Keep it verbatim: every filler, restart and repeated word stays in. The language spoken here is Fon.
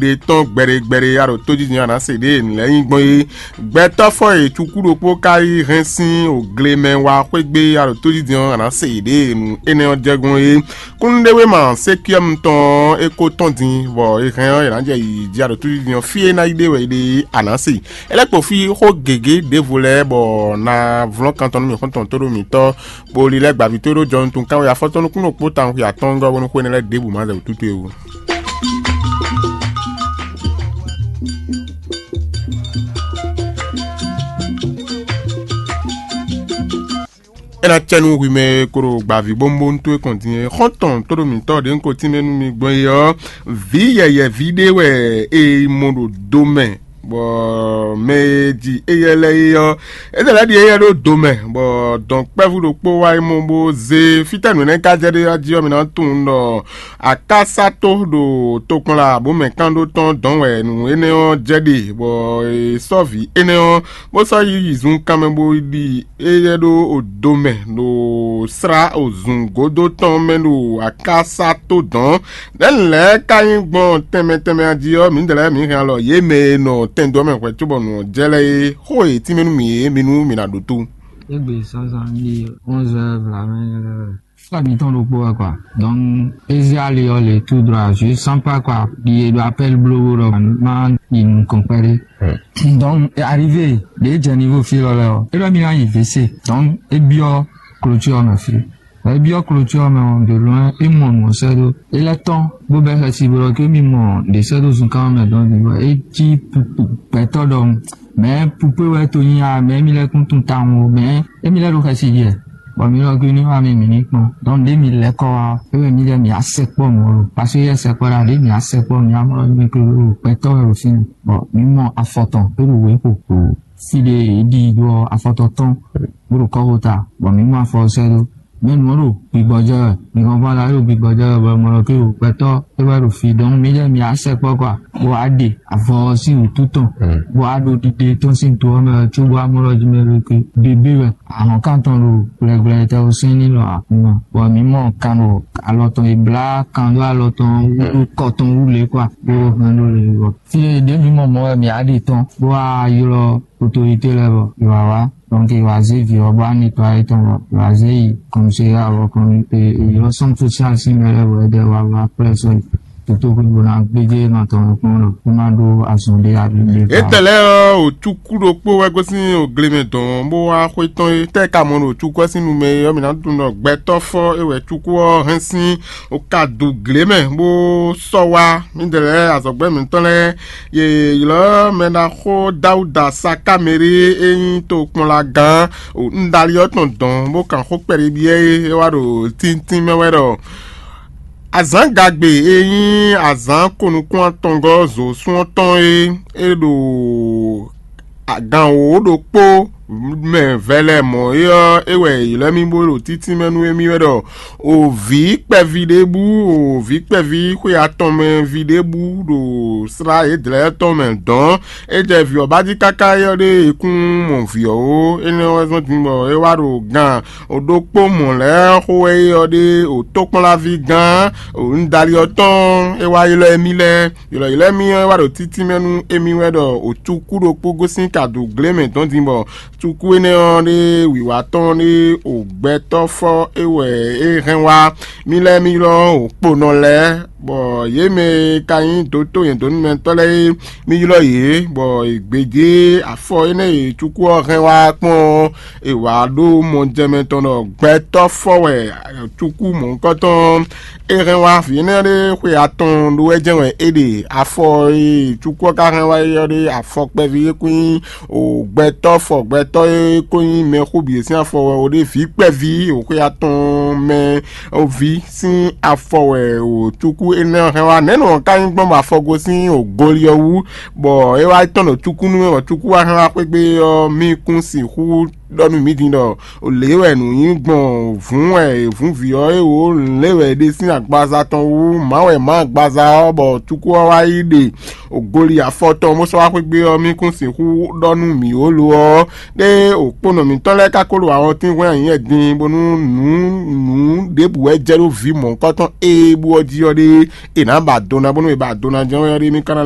ɖe tɔn gbɛɖegbɛɖe a ɖo tójijɛ a nǎ se ɖě e nǔ lɛ́ɛ nyí gbɔn é. Gbɛtɔ́ fɔ e cukú ɖokpó ka yi hɛn sín ògle mɛ wá xwé gbé a ɖo tójijɛ ɔ́, a nǎ se yě ɖě e nǔ énɛ́ ɔ́ jɛ gbɔn é. Kúnnuɖewéma sékíɔ́mu tɔn ɔ́, é ko tɔ́n din, bɔ è hɛn ɔ́, è nǎ jɛ yiyi jí a ɖo tójijɛ ɔ́, fí e ná yi ɖe wɛ é ɖe a nǎ se. É lɛ́ kpo fí xó gěgé ɖěvo lɛ́ɛ, bɔ na vlɔ́n kan tɔn nú mì xɔ́ntɔn tó ɖo mǐtɔn, bó lílɛ́ gbǎví tó ɖó jɔnutun kánwé afɔtɔ́ nukúnnú kpó tawun xwe atɔ́ɔ́ngɔ́ bónú xwénɛ́ lɛ́ɛ ɖěbǔ ma zɛ wǔtútú é wú. É ná cɛ nú hwi mɛ e ko ɖo gbǎví bónbónú towe kɔn din é. Xɔ́ntɔn tóɖomǐtɔ́ ɖě un ko tínmɛ nú mi gbɔn é ɔ́, vǐ yɛyɛ̌ví ɖé wɛ è yi mɔ ɖo do mɛ, bɔ mɛ e ji éyɛ́ lɛ́ɛ é ɔ́, é lɛ́ ɖi éyɛ́ ɖó do mɛ, bɔ dɔ̌nkpɛ́vú ɖokpó wá yi mɔ bó zé. Fítɛ́ nǔ énɛ́ ka jɛ ɖe ɔ́ jí ɔ́, mi ná tunwun ɖɔ akásátó ɖo tokpɔnla bó mɛ kán ɖó tɔn dɔn wɛ nǔ énɛ́ ɔ́ jɛ ɖe, bɔ è sɔ́ vǐ énɛ́ ɔ́ bó sɔ́ yi yi zunkan mɛ bó ɖi éyɛ́ ɖó odo mɛ ɖo slá ozungódó tɔn mɛ ɖo akásá tó dɔ̌n. Nɛ̌ lɛ̌ɛ ka nyí gbɔn tɛnmɛ tɛnmɛ a jí ɔ́, mǐdɛɛ lɛ́ɛ mǐ hɛn alɔ yě mɛ e nɔ tɛndo ɔ́ mɛ hwɛ̌ cóbɔ nǔ ɔ́ jɛ lɛ́ɛ é. Xó e tínmɛ nú mǐ é, mi nú mǐ ná ɖótó. Égbé zǎnzǎn ɖi onze heures vlamɛ lɛ́ɛ. Sɔ mǐtɔn ɖokpó wɛ kwa. Donc, Eziali ɔ́ le tout droit, je sens pas quoi, ɖi e ɖo appel blóɖó ɖɔ ma yi nukɔn kpɛɖé. Donc, arrivé ɖě jɛ niveau fí lɔ lɛ́ɛ ɔ́, é ɖɔ mì ná yi V C. Donc, é byɔ́ clôture ɔ́ mɛ fí. Vɔ é byɔ́ clôture ɔ́ mɛ ɔ́, de loin é mɔ nǔ ɔ́ sɛ́ ɖó. É lɛ́ tɔ́n bó bɛ́ xɛsi bó ɖɔ ké mì mɔ ɖě sɛ́ ɖó zunkan ɔ́ mɛ dɔn din, bɔ é cí gbɛtɔ́ ɖɔhun. Mɛ̌ pupé wɛ to nyi a, mɛ̌ mi lɛ́ kún tunwun tawun o, mɛ̌ émi lɛ́ ɖo xɛsi jɛ, bɔ mi lɔ gbé ní wá mi mǐ ní kpɔ́n. Donc ɖěe mi lɛ́ kɔ wá ɔ́, é wɛ mi lɛ́ mi á sɛkpɔ́ mɔ̌ lo, parce que yɛ sɛkpɔ́ ɖa ɖě mi á sɛkpɔ́ mi á mɔ mi klo ɖo gbɛtɔ́ wɛ ɖo fínɛ́. Bɔ mi mɔ afɔ tɔn é ɖo wě xo. Fí ɖé è ɖi ɖó ɔ́, afɔ tɔn tɔn bó ɖo kɔ́xota, bɔ mi mɔ afɔ ɔ́ sɛ́ ɖó. Mɛ nǔ ɔ́ ɖo gbigbɔjɛ wɛ, mi hɔn fún ala ɖo gbigbɔjɛ wɛ, bɔ mɔ ɖɔ ké o gbɛtɔ́ é wɛ ɖo fi, donc mi lɛ́ mi á sɛkpɔ́ kɔ, bó wá ɖe avɔ ɔ́ sín wǔtu tɔn, bó wá ɖo ɖiɖe tɔn sín to ɔ́ mɛ wɛ, có bó wá mɔ ɖɔ jí mɛ ɖo ké bébé wɛ. Ahɔn kan tɔn ɖo gblɛgblɛ tɛ o sɛn ní lɔ akunma, bɔ mǐ mɔ kan ɖo alɔ tɔn e blá kan ɖó alɔ tɔn wú ɖó kɔ tɔn wú lě kɔ, bó hɛn ɖó lě wɔ. Fí e ɖě mǐ mɔ mɔ̌ wɛ mǐ á ɖe tɔn, bó wá ylɔ́ autorité lɛ́ɛ bɔ è wǎ wá. Donc è wǎ zé vǐ ɔ́ bó wá nettoyé tɔn bɔ è wǎ zé yi kɔmseyá ɔ́ kɔn ylɔ́ sɔ́n social sín mɛ lɛ́ɛ bɔ é ɖɛ wá wá kplɛ́ sɔ́ yi. Toto xwé bó ná gbéjé nɔ tɔn kpɔ́n ɖɔ é má ɖó azɔn ɖé abí ɖé. Étɛlɛ ɔ́, òcúkú ɖokpó wɛ gosín ògle mɛ dɔn bó wá xwé tɔn é. Tɛ́ ka mɔ ɖo cúkú ɔ́ sín nu mɛ é ɔ́, mǐ ná tunwun ɖɔ gbɛtɔ́ fɔ́ é wɛ cúkú ɔ́ hɛn sín. Wokadu glé mɛ bó sɔ́ wá. Mídɛɛ lɛ́ɛ azɔ̌gbɛ́ mǐtɔn lɛ́ɛ, yě ylɔ́ mɛ ɖaxó Dáwúda Sakámeri e nyí tokpɔnlagán Ndáli ɔ́ tɔn dɔn, bó kan xó kpɛɖé byɔ́ é, é wá ɖo tíntín mɛ wɛ ɖɔ azǎn gagbe e nyí azǎn konukún atɔngɔ́ zǒsún ɔ́ tɔn é, é ɖo gan wǒ ɖokpó mɛ vɛlɛ mɔ̌ é ɔ́, é wɛ è ylɔ́ mì bó ɖo títínmɛ nú émí wɛ ɖɔ o vǐ kpɛví ɖé bú, o vǐ kpɛví xwe atɔn mɛ ví ɖé bú ɖo slá yědɛ́lɛ́ tɔn mɛ dɔ̌n. É jɛ vǐ ɔ́ ba jí káká é ɔ́ ɖé e kún mɔ vǐ ɔ́ ó. Énɛ́ ɔ́ wɛ zɔ́n din bɔ é wá ɖo gan ɖokpó mɔ̌ lɛ́ɛ xo wɛ é ɔ́ ɖé o tókplɔ́nláví gán o nǔdali ɔ́ tɔn é wá ylɔ́ émí lɛ́ɛ. Ylɔ̌ylɔ́ émí ɔ́ é wá ɖo títínmɛ nú émí wɛ ɖɔ o cukú ɖokpó gosín kadu glé mɛ dɔn din bɔ cukú énɛ́ ɔ́ ɖé wǐwá tɔn ɖé o gbɛtɔ́ fɔ́ é wɛ é hɛn wá. Mí lɛ́ɛ mí ylɔ́ o kponɔ lɛ́ɛ, bɔ yě mɛ e ka nyí dǒtó nyɛ̌dǒnúmɛtɔ́ lɛ́ɛ é, mí ylɔ́ yě, bɔ è gbějé afɔ énɛ́ e cukú ɔ́ hɛn wá kpɔ́n ɔ́, è wǎ ɖó mɔjɛmɛ tɔn ɖɔ gbɛtɔ́ fɔ́ wɛ cukú mɔ̌hunkɔtɔn. É hɛn wá vǐ énɛ́ ɖé xwe atɔn ɖó wɛ jɛ́n wɛ é ɖe. Afɔ e cukú ɔ́ ka hɛn wá é ɔ́ ɖé afɔ kpɛví é kún nyí o gbɛtɔ́ fɔ gbɛtɔ́ e kó nyí mɛxó bǐ sín afɔ wɛ o ɖé vǐ kpɛví o xwe atɔn mɛ o ví sín afɔ wɛ o cukú énɛ́ ɔ́ hɛn wá. Nɛ̌ nɔ ka nyí gbɔn bɔ afɔ gosín o goli ɔ́ wú, bɔ é wá tɔn ɖo cukú nú mɛ bɔ cukú wá hɛn wá xwé gbe ɔ́, mí kún sixú ɖɔ nú mǐ din ɖɔ lě wɛ nǔ nyí gbɔn vǔn wɛ è vǔn vǐ ɔ́ é wǒ lě wɛ è ɖe sín agbaza tɔn wú. Mǎ wɛ mǎ agbaza ɔ́ bɔ cukú ɔ́ wá yi ɖe ògoli afɔ tɔn bó sɔ́ wá xwé gbe ɔ́, mí kún sixú ɖɔ nú mǐ ó lo ɔ́. Ɖé òkponɔ mǐtɔn lɛ́ɛ ka ko ɖo awɔntín hwɛ́n anyǐ wɛ din bónú nǔ nǔ ɖěbǔ wɛ jɛ ɖó vǐ mɔ̌hunkɔtɔn e bú ɔ́ jí ɔ́ ɖé, è nǎ ba do ná bónú è ba do ná jɛ́n wɛ ɔ́ ɖé mí ka ná